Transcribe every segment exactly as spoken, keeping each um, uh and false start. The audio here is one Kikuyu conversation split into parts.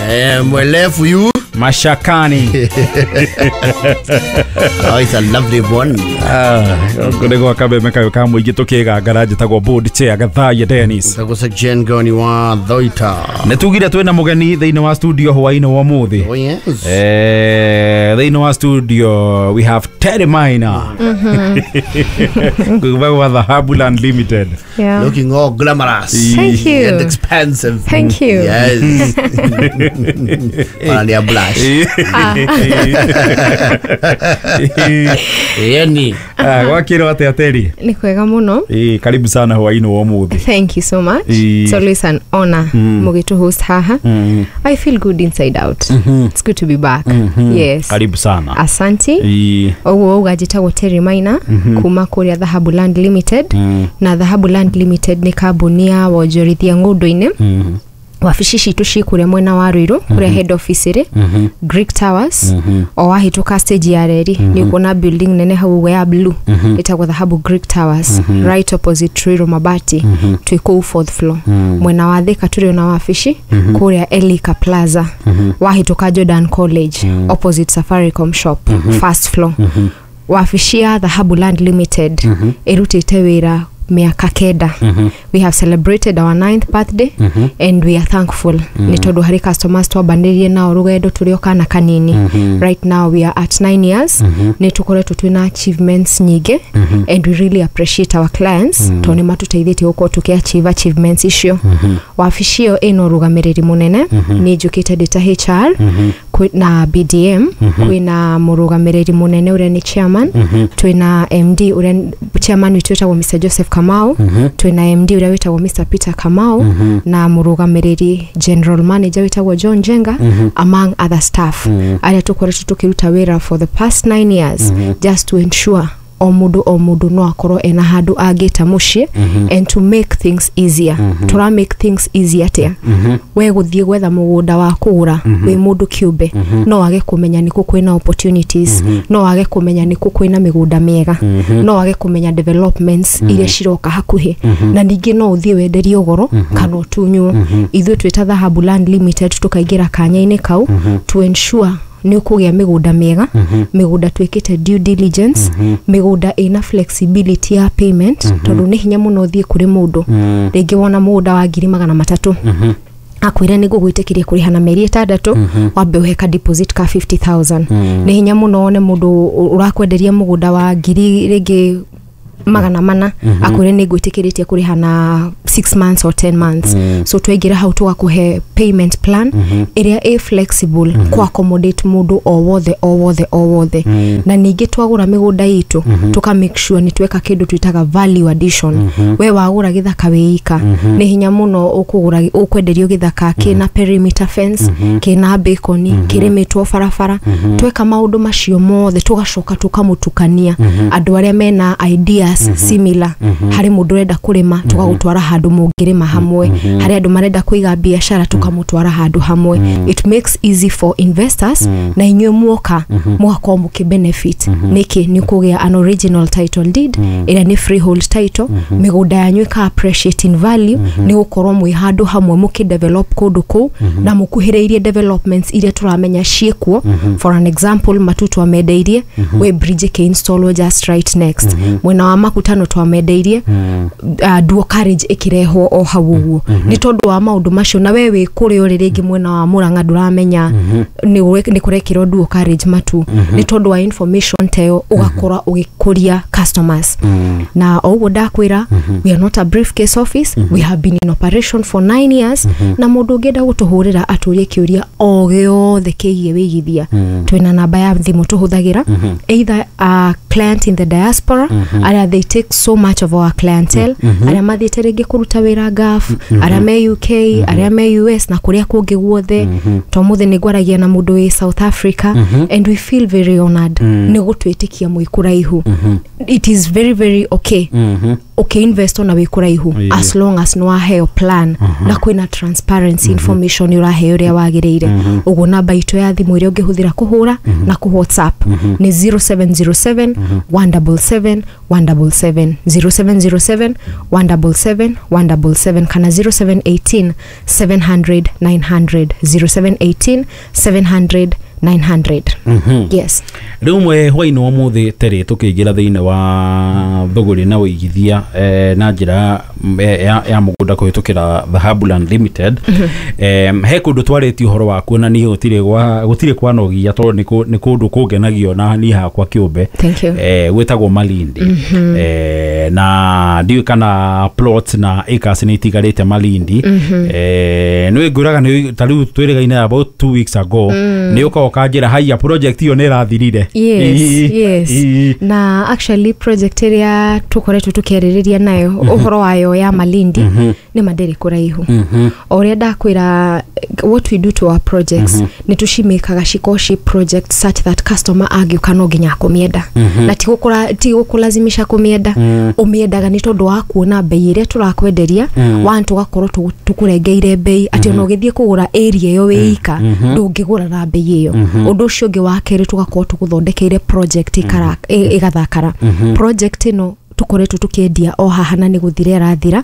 Eh, mwelefu you. Mashakani. Oh, it's a lovely one. Ah, nĩ gwa kameme kayũ ka mũingĩ tũkĩgangara njĩtagwo board chair Gathaiya Dennis. Tagwo Jengoni wa Thoita. Nĩ tugire twĩna mũgeni thĩinĩ wa studio hwainĩ wa ũmũthĩ. Oh yes. Eh, thĩinĩ wa studio we have Terry Maina. Kuma gwa Dhahabu Land Limited. Yeah. Looking all glamorous. Thank you. And expensive. Thank you. Yes. Wanalia blush. Yani. Ah, gwakĩrwo atĩa Terry? Nĩ kwega mũno. Eh, karibu sana hwainĩ wa ũmũthĩ. Thank you so much. Ĩĩ. It's always an honor mũgĩtũ host haha. Mm. I feel good inside out. It's good to be back. Yes. Karibu sana. Asante. Ĩĩ. Ũguo uga njĩtagwo Terry Maina kuma kũrĩa Dhahabu Land Limited. Na Dhahabu Land Limited nĩ kambuni ya wonjorithia ng'ũndũ-inĩ. Mm. Wabici citũ ci kũrĩa mwena wa Ruiru kũrĩa head office ĩrĩ Greek Towers, o wahĩtũka stage ya reri nĩ ũkuona building nene hau ũguo ya blue ĩtagwo Dhahabu Greek Towers, right opposite Ruiru Mabati, twĩ kũu fourth floor. Mwena wa Thika tũrĩ ona wabici kũrĩa Elika Plaza, wahĩtũka Jordan College, opposite Safaricom shop, first floor. Wabici ya Dhahabu Land Limited ĩrutĩte wĩra mĩaka kenda. We have celebrated our ninth birthday and we are thankful nĩ tondũ harĩ customers twambanĩrie nao rũgendo tũrĩ o kana kanini. Right now we are at nine years. Nĩ tũkoretwo twĩna achievements nyingĩ and we really appreciate our clients tondũ nĩ matũteithĩtie gũkorwo tũkĩ achieve achievements icio. Wabici ĩyo ĩna ũrũgamĩrĩri mũnene, nĩ njũkĩte ndĩ ta H R kwĩna B D M, kwĩna mũrũgamĩrĩri mũnene ũrĩa nĩ chairman, twĩna M D ũrĩa chairman witũ wĩtagwo Mister Joseph Kamau, twĩna M D ũrĩa wĩtagwo Mister Peter Kamau, na mũrũgamĩrĩri general manager wĩtagwo John Jenga, among other staff arĩa tũkoretwo tũkĩruta wĩra for the past nine years just to ensure o mũndũ o mũndũ no akorwo ena handũ angĩta mũciĩ and to make things easier. Tũra make things easier atĩa? We gũthiĩ gwetha mũgũnda wa kũgũra wĩ mũndũ kĩũmbe no wage kũmenya nĩkũ kwĩna opportunities, no wage kũmenya nĩkũ kwĩna mĩgũnda mĩega, no wage kũmenya developments iria ciroka hakuhĩ, na ningĩ no ũthiĩ wenderio goro kana ũtunywo. Ithuĩ twĩta Dhahabu Land Limited tũkaingĩra kanya-inĩ kau to ensure nĩ ũkũgĩa mĩgũnda mĩega, mĩgũnda twĩkĩte due diligence, mĩgũnda ĩna flexibility ya payment, tondũ nĩ hinya mũno ũthiĩ kũrĩ mũndũ rĩngĩ wona mũgũnda wa ngiri magana matatũ akwĩre nĩ ngũgwĩtĩkĩria kũrĩha na mĩeri ĩtandatũ, wambe ũhe ka deposit ka fifty thousand. Nĩ hinya mũno wone mũndũ ũrakwenderia mũgũnda wa ngiri rĩngĩ magana mana akwĩre nĩ ngwĩtĩkĩrĩtie kũrĩha na six months or ten months. So twaingĩra hau tũgakũhe payment plan ĩrĩa ĩ flexible kũ accommodate mũndũ o wothe o wothe o wothe. Na ningĩ twagũra mĩgũnda itũ tũka make sure nĩ tweka kĩndũ twĩtaga value addition. We wagũra gĩthaka wĩ ika, nĩ hinya mũno ũkũgũra ũkwenderio gĩthaka kĩna perimeter fence, kĩna balcony, kĩrĩmĩtwo barabara. Tweka maũndũ macio mothe tũgacoka tũkamũtukania andũ arĩa mena ideas similar. Harĩ mũndũ ũrenda kũrĩma, tũgagũtwara handũ mũngĩrĩma hamwe. Harĩ andũ marenda kũiga biacara, tũkamũtwara handũ hamwe. It makes easy for investors, na inyuĩ muoka mũgakorwo mũkĩ benefit. Nĩkĩ? Nĩ kũgĩa an original title deed ĩrĩa nĩ freehold title, mĩgũnda yanyu ĩka appreciate in value nĩ gũkorwo mwĩ handũ hamwe mũkĩ develop kũndũ kũu na mũkuhĩrĩirie developments iria tũramenya ciĩkuo. For an example, Matu twamendeirie wĩ bridge ĩkĩ installwo just right next. Mwena wa Makutano twamendeirie uh, dual carriage ĩkĩrehwo o hau ũguo. Nĩ tondũ wa maũndũ macio, na we wĩ kũrĩa ũrĩ rĩngĩ mwena wa Mũrang'a ndũramenya nĩ nĩ kũrekĩrwo dual carriage Matu. Nĩ tondũ wa information ta ĩyo ũgakora ũgĩkũria customers. Na o ũguo ndakwĩra, we are not a briefcase office. We have been in operation for nine years, na mũndũ ũngĩenda gũtũhũrĩra atũrie kĩũria o gĩothe kĩgiĩ wĩigithia, twĩna namba ya thimũ tũhũthagĩra. Either a client in the diaspora, arĩa they take so much of our clientele, arĩa mathiĩte rĩngĩ kũruta wĩra Gulf, arĩa me U K, arĩa me U S na kũrĩa kũngĩ guothe. To mũthĩ nĩ ngwaragia na mũndũ wĩ South Africa and we feel very honored nĩ gũtwĩtĩkia mwĩ kũraihu. It is very very okay. Ũkĩinvest ona wĩ kũraihu, Ĩĩ. as long as nĩ waheo plan na kwĩna transparency, information nĩ ũraheo ũrĩa wagĩrĩire. Ũguo namba itũ ya thimũ ĩrĩa ũngĩhũthĩra kũhũra na kũ WhatsApp nĩ zero seven zero seven one seven seven one seven seven, zero seven zero seven one seven seven one seven seven, kana zero seven one eight seven hundred nine hundred, zero seven one eight seven hundred nine hundred. Yes. Rĩu mwe hwainĩ wa mũthĩ terĩ tũkĩingĩra thĩinĩ wa thũgũrĩ na ũigithia eh, na njĩra mm, eh, ya, ya mũgũnda kũhĩtũkĩra Dhahabu Land Limited, eh, he kũndũ twarĩtie ũhoro wakuo na niĩ gũtirĩ gwa gũtirĩ kwanogia tondũ nĩ kũ- nĩ kũndũ kũngenagio na niĩ hakwa kĩũmbe. Thank you. eh, gwĩtagwo Malindi, eh, na ndiũĩ kana plot na acres nĩ itigarĩte Malindi. eh, nĩ ngwĩraga nĩ ta rĩu twĩrĩgaine about two weeks ago, nĩ ũka ũkanjĩra haiya, project ĩyo nĩ ĩrathirire. Yes. Ii, Yes. ii. Na actually project ĩrĩa tũkoretwo tũkĩarĩrĩria nayo ũhoro wayo ya Malindi nĩ mandĩrĩ kũraihu. O ũrĩa ndakwĩra, what we do to our projects nĩ tũcimĩkaga cikorwo ci project such that customer angĩũka no nginya akũmĩenda, na ti gũkũra- ti gũkũlazimisha kũmĩenda. Ũmĩendaga nĩ tondũ wa kuona mbei ĩrĩa tũrakwenderia. One, tũgakorwo tũ- tũkũrengeire mbei atĩ ona ũgĩthiĩ kũgũra area ĩyo wĩ ika ndũngĩgũra na mbei ĩyo. Ũndũ ũcio ũngĩ wa kerĩ, tũgakorwo tũgũthondekeire project ĩkara- ĩ- ĩgathakara. Project ĩno tũkoretwo tũkĩendia o haha na nĩ gũthira ĩrathira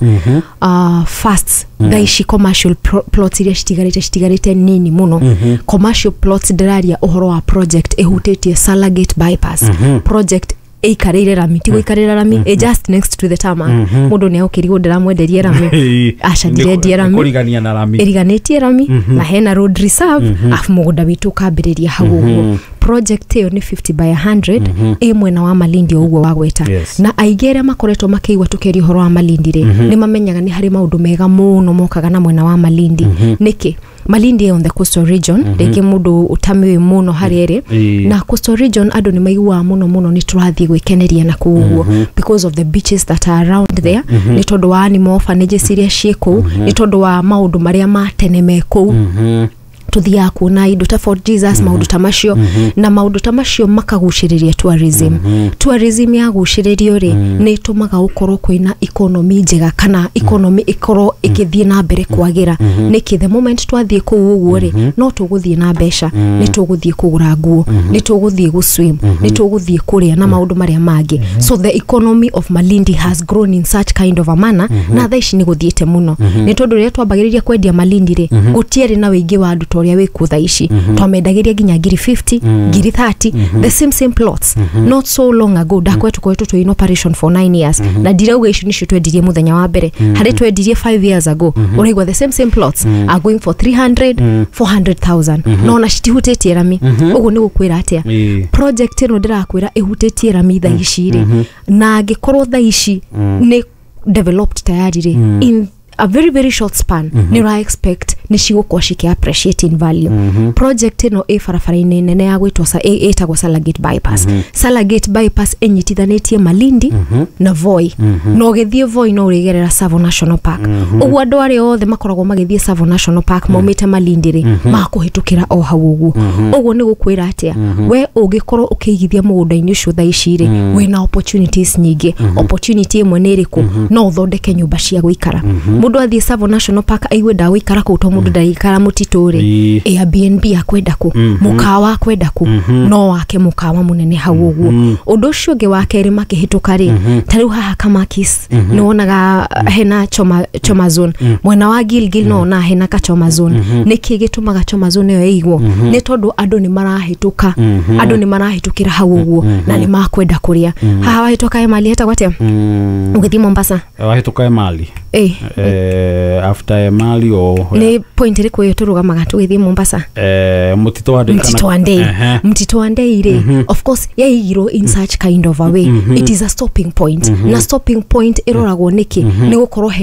uh, fast. Thaa ici commercial pro- plots iria citigarĩte citigarĩte nini mũno. Commercial plots ndĩraria ũhoro wa project ĩhutĩtie Salagate bypass, project ĩikarĩire rami, ti gũikarĩra rami, ĩ just next to the tarmac. Mũndũ nĩ agũkĩrigwo ndĩramwenderie rami. Aca, ndirendia rami. Kũrigania na rami. Ĩriganĩtie rami na hena road reserve, afu mũgũnda witũ ũkambĩrĩria hau ũguo. Project ĩyo nĩ fifty by one hundred, ĩ mwena wa Malindi o ũguo wagweta. Yes. Na aingĩ arĩa makoretwo makĩigua tũkĩaria ũhoro wa Malindi rĩ, nĩ mamenyaga nĩ harĩ maũndũ mega mũno mokaga na mwena wa Malindi. Nĩkĩ Malindi ĩ on the coastal region? Rĩngĩ mũndũ ũtamĩũĩ mũno harĩa ĩrĩ. Ĩĩ. Na coastal region andũ nĩ maiguaga mũno mũno nĩ tũrathiĩ gwĩkeneria na kũu ũguo because of the beaches that are around there, nĩ tondũ wa animal orphanages iria ciĩ kũu, nĩ tondũ wa maũndũ marĩa ma tene me kũu. Tuthiaga kuona indo ta Fort Jesus, maũndũ ta macio, na maũndũ ta macio makagucĩrĩria tourism. Tourism yagucĩrĩrio rĩ, nĩ ĩtũmaga gũkorwo kwĩna economy njega kana economy ĩkorwo ĩkĩthiĩ na mbere kwagĩra. Nĩkĩ? The moment twathiĩ kũu ũguo rĩ, no tũgũthiĩ na mbeca, nĩ tũgũthiĩ kũgũra nguo, nĩ tũgũthiĩ gũswim, nĩ tũgũthiĩ kũrĩa na maũndũ marĩa mangĩ. So the economy of Malindi has grown in such kind of a manner, na thaa ici nĩ gũthiĩte mũno, nĩ tondũ rĩrĩa twambagĩrĩria kwendia Malindi rĩ, gũtiarĩ na wĩingĩ wa andũ ta ũrĩa wĩ kuo thaa ici. Twamendagĩria nginya ngiri mĩrongo ĩtano, ngiri mĩrongo ĩtatũ, the same same plots not so long ago. Ndakwä tũkoretwo twĩ in operation for nine years, na ndirauga icio nicio twendirie mũthenya wa mbere. Harĩ twendirie five years ago, ũraigua the same same plots are going for three hundred, four hundred thousand, no ona citihutĩtie rami. Ũguo nĩ gũkwĩra atĩa? Ĩĩ. Project ĩno ndĩrakwĩra ĩhutĩtie rami thaa ici rĩ, na angĩkorwo thaa ici nĩ developed tayari rĩ, in a very very short span nĩ ũra expect nĩ cigũkorwo cikĩ appreciate in value. Project ĩno ĩ barabara-inĩ nene ya gwĩtwo sa- ĩ- ĩtagwo Salagate bypass. Salagate bypass ĩnyitithanĩtie Malindi na Voi, na ũgĩthiĩ Voi no ũrĩgerera Tsavo National Park. Ũguo andũ arĩa othe makoragwo magĩthiĩ Tsavo National Park maumĩte Malindi rĩ, makũhĩtũkĩra o hau ũguo. Ũguo nĩ gũkwĩra atĩa? We ũngĩkorwo ũkĩigithia mũgũnda-inĩ ũcio thaa ici rĩ, wĩna opportunities nyingĩ. Opportunity ĩmwe nĩ ĩrĩkũ? No ũthondeke nyũmba cia gũikara. Mũndũ athiĩ Tsavo National Park aigue ndagũikara kũu, to mũndũ ndaikara mũtitũ rĩ, Ĩĩ. Airbnb akwenda kũ, mũkawa akwenda kũ, no wake mũkawa mũnene hau ũguo. Ũndũ ũcio ũngĩ wa kerĩ, makĩhĩtũka rĩ, ta rĩu haha Kamakis nĩ wonaga hena choma, choma zone. Mwena wa Gilgil no wona hena kachoma zone. Nĩkĩ gĩtũmaga choma zone ĩyo ĩigwo? Nĩ tondũ andũ nĩ marahĩtũka, andũ nĩ marahĩtũkĩra hau ũguo na nĩ makwenda kũrĩa haha. Wahĩtũka Emali hetagwo atĩa ũgĩthiĩ Mombasa? Wahĩtũka Emali. Ĩ. eh, after Emali o Nĩ point ĩrĩkũ ĩyo tũrũgamaga tũgĩthiĩ Mombasa? eh, mũtitũ wa Ndei. Mtito wa Ndei. Ehe. Mtito wa Ndei rĩ, of course yaigirwo in such kind of a way, it is a stopping point, na stopping point ĩroragwo nĩkĩ? Nĩ gũkorwo